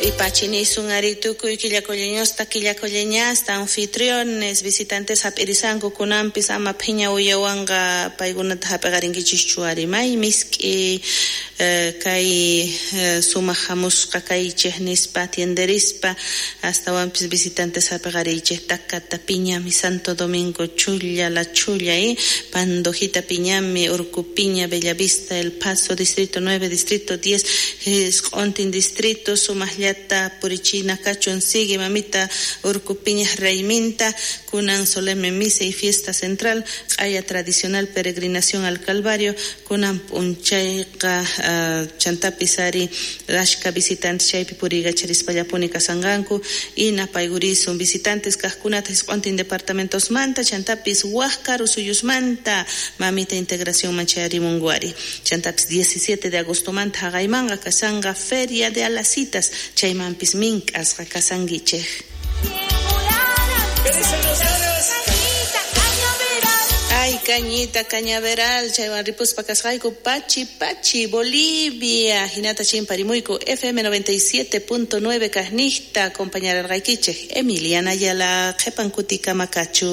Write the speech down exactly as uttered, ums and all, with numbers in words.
Ipachinisun ari tukuy quillacolleñosta quillacolleñasta anfitriones visitantes hap'irisanku kunanpis ama phiña uyawanqa paykunata hap'iqarinkichischu ari may misk'i kay sumaq hamusqa kaychej nispa atienderispa astawanpis visitantes hap'iqariychej Takata Piñami Santo Domingo Chulla La Chulla y Pandojita Piñami Urcupiña Bellavista El Paso Distrito nueve Distrito diez Q'untin Distrito sumaqllata purichina kachun sigue mamita Urcupiña rayminta kunan solemne misa y fiesta central q'aya tradicional peregrinación al Calvario kunan p'unchayqa uh, chantapis ari ashka visitantes chaypi puriykacharispallapuni kasanqanku y napaygurisun visitantes kaqkunata isq'untin departamentosmanta chantapis wak karu suyusmanta mamita integración chayarimunku ari chantapis diecisiete de agostomanta haqaymanqa kasanqa feria de alasitas chaymanpis mink'asqa kasankichej. Ay, cañita, cañaveral, chaywan ripuspa kasqayku, Pachi, Pachi, Bolivia, hinata chimparimuyku, F M noventa y siete punto nueve kajnijta, acompañararqaykichej, Emiliana Ayala, qhipan kutikama kachu.